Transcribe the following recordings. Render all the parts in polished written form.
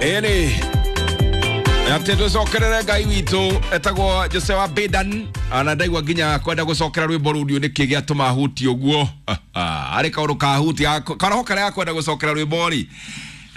Ĩni atĩ tũcokerere Ngai witũ etagwo Jose wa Bidan ana ndaigua nginya kwenda gũcokera rwĩmbo rũu ndiũ nĩkĩ gĩatũma huti ũguo. Arĩ kaũndũ kahutia karoho karĩa gakwenda gũcokera rwĩmbo rĩ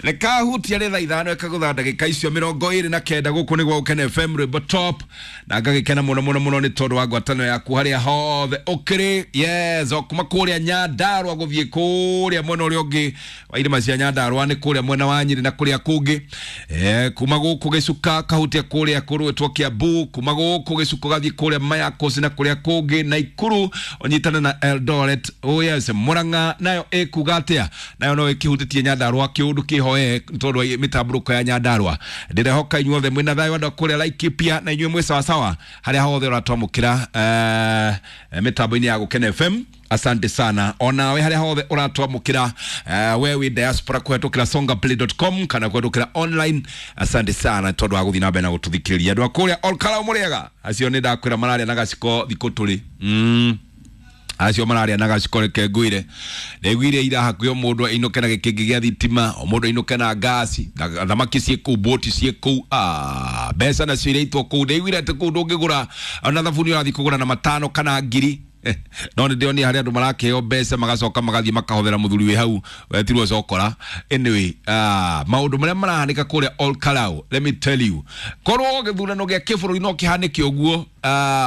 nĩ kahutia rĩ thaa 5 ĩkagũtha ndagĩka icio 29 gũkũ nĩguo Gũkena FM rwĩmbo top, na ngagĩkena mũno mũno mũno nĩ tondũ wa ngwatanĩro yaku harĩa hothe ũkĩrĩ. Yes, o kuma kũrĩa Nyandarua gũthiĩ kũrĩa mwena ũrĩa ũngĩ wa irĩma cia Nyandarua nĩ kũrĩa mwena wa Nyĩrĩ na kũrĩa kũngĩ, kuma gũkũ Gĩcuka kahutia kũrĩa kũrũĩtwo Kiambu, kuma gũkũ Gĩcuka ũgathiĩ kũrĩa Mayakos na kũrĩa kũngĩ Naikuru ũnyitane na Eldoret. Oh yes, Murang'a nayo ĩkuga atĩa? Nayo no ĩkĩhutĩtie Nyandarua kĩũndũ kĩho tondũ wa mĩtambũrũko ya Nyandarua. Ndĩrehoka inyuothe mwĩna thayũ andũ a kũrĩa Laikipia na inyuĩ mwĩ sawasawa harĩa hothe ũratwamũkĩra mĩtambo-inĩ ya Gũkena FM. Asante sana onawe harĩa hothe ũratwamũkĩra, we wĩ diaspora kũhetũkĩra songaplay.com kana kũhetũkĩra online. Asante sana tondũ wa gũthiĩ na mbere na gũtũthikĩrĩria. Andũ a kũrĩa Olkarau mũrĩega acio nĩ ndakwĩra mararĩa na gaciko thikũ tũrĩ acio mararĩa na gaciko. Reke ngwĩre, ndaiguire ira hakuhĩ o mũndũ ainũke na gĩkĩngĩ gĩa thitima, o mũndũ ainũke na ngasi na thamaki ciĩ kũu, boti ciĩ kũu, mbeca nacio iraitwo kũu. Ndaiguire atĩ kũu ndũngĩgũra ona thabuni, ũrathiĩ kũgũra na matano kana ngiri, no nĩ ndĩronire harĩa andũ marakĩheo mbeca magacoka magathiĩ makahothera mũthuri wĩ hau wetirwo cokora. Anyway, maũndũ marĩa marahanĩka kũrĩa Olkarau, let me tell you, korwo gĩthurano gĩa kĩbũrũri no kĩhanĩke ũguo,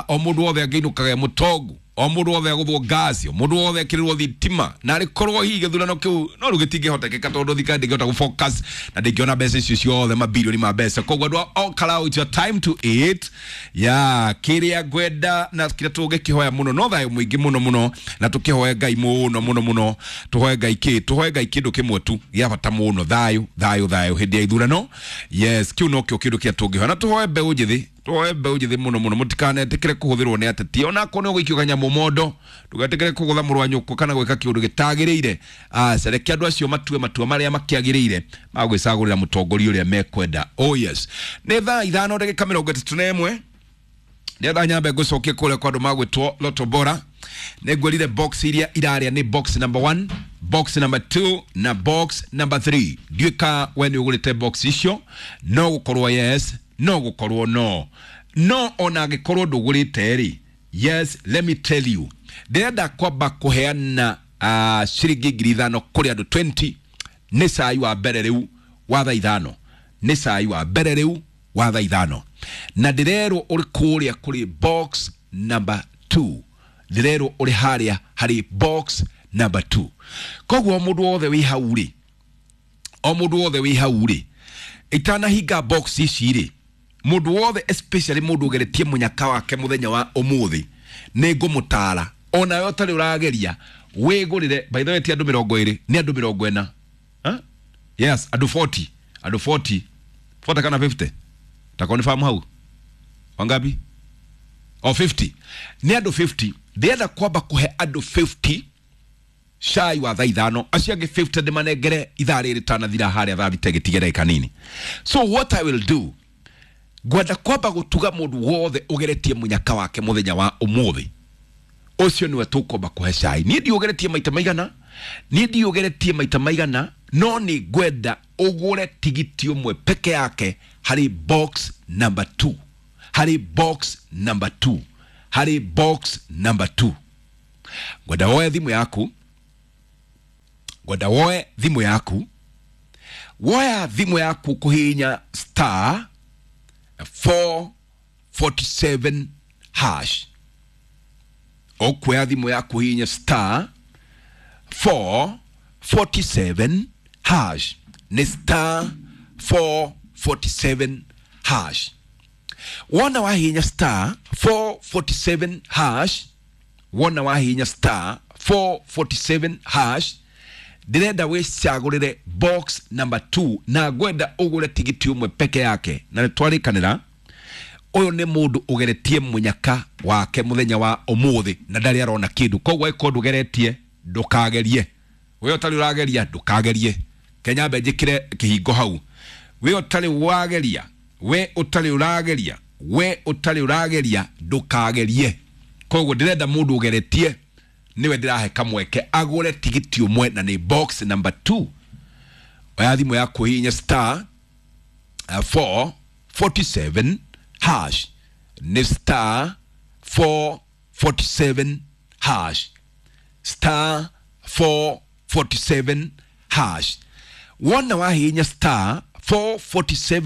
o mũndũ wothe angĩinũkaga e mũtongu, o mũndũ wothe agũthwo ngasi, o mũndũ wothe ekĩrĩrwo thitima, na arĩ korwo hihi gĩthurano kĩu no rĩu gĩtingĩhotekeka tondũ thirikari ndĩngĩhota gũfocus na ndĩngĩona mbeca icio ciothe, mabirioni ma mbeca. Koguo andũ a Olkarau, it's your time to eat ya kĩrĩa ngwenda na kĩrĩa tũngĩkĩhoya mũno no thayũ mũingĩ mũno mũno, na tũkĩhoe Ngai mũno mũno mũno. Tũhoe Ngai kĩ? Tũhoe Ngai kĩndũ kĩmwe tu gĩa bata mũno, thayũ, thayũ, thayũ hĩndĩ ya ithurano. Yes, kĩu nokĩo kĩndũ kĩrĩa tũngĩhoya, na tũhoe mbeũ njĩthĩ, tũhoe mbeũ njĩthĩ mũno mũno mũtikanetĩkĩre kũhũthĩrwo nĩ ateti, onakorwo nĩ ũgũikio kanyamũ mondo. Ndũgetĩkĩre kũgũtha mũrũ wa nyũkwa kana gwĩka kĩũndũ gĩtagĩrĩire. Aca, reke andũ acio matue matua marĩa makĩagĩrĩire ma gwĩcagũrĩra mũtongoria ũrĩa mekwenda. Oh yes, nĩ thaa 5 ndagĩka 31. Ndĩrenda nyambe ngũcokie kũrĩa kwa andũ magwĩtwo Loto Bora. Nĩ ngwĩrire box iria irarĩa nĩ box number 1, box number 2 na box number 3. Ndiũĩ ka we nĩ ũgũrĩte box icio, no gũkorwo yes, no gũkorwo no no ona angĩkorwo ndũgũrĩte rĩ, yes, let me tell you, ndĩrenda kwamba kũheana ciringi 5,000 kũrĩ andũ 20. Nĩ cai wa mbere rĩu wa thaa 5, nĩ cai wa mbere rĩu wa thaa 5, na ndĩrerwo ũrĩ kũrĩa kũrĩ box number 2. Ndĩrerwo ũrĩ harĩa harĩ box number 2. Koguo o mũndũ wothe wĩ hau rĩ, o mũndũ wothe wĩ hau rĩ, itanahinga box ici rĩ, mũndũ wothe, especially mũndũ ũgeretie mũnyaka wake mũthenya wa ũmũthĩ, nĩ ngũmũtara onawe ũtarĩ ũrageria wĩgũrĩre. By the way, ti andũ 20, nĩ andũ 40. Huh? Yes, andũ 40, andũ 40, 40 kana 50, takonifam hau wangapi? O 50, nĩ andũ 50. Ndĩrenda kwamba kũhe andũ 50 cai wa thaa 5, acio angĩ 50 ndĩmanengere ithaa rĩrĩ tanathira harĩa thaa 6 gĩtige ndagĩka nini. So what I will do, ngwenda kwamba gũtuga mũndũ wothe ũgeretie mũnyaka wake mũthenya wa ũmũthĩ, ũcio nĩwe tũkwamba kũhe cai. Niĩ ndiũgeretie maita maigana, niĩ ndiũgeretie maita maigana, no nĩ ngwenda ũgũre tigiti ũmwe peke yake harĩ box number 2, harĩ box number 2, harĩ box number 2. Ngwenda woe thimũ yaku, ngwenda woe thimũ yaku, woya thimũ yaku kũhihinya star 447 hash. Ũkuoya thimũ yaku hihinya star 447 hash, nĩ star 447 hash. Wona wahihinya star 447 hash, wona wahihinya star 447 hash, ndĩrenda wĩcagũrĩre box number 2 na ngwenda ũgũre tigiti ũmwe peke yake. Na nĩ twarĩkanĩra ũyũ nĩ mũndũ ũgeretie mũnyaka wake mũthenya wa ũmũthĩ na ndarĩ arona kĩndũ. Koguo angĩkorwo ndũgeretie, ndũkagerie. We ũtarĩ ũrageria, ndũkagerie. Kenya mbe njĩkĩre kĩhingo hau. We ũtarĩ wageria, we ũtarĩ ũrageria, we ũtarĩ ũrageria, ndũkagerie. Koguo ndĩrenda mũndũ ũgeretie niwe ndĩrahe kamweke agũre tigiti ũmwe na nĩ box number 2. Oya thimũ yaku hihinya star 447 hash, nĩ star 447 hash, star 447 hash. Wona wahihinya star 447.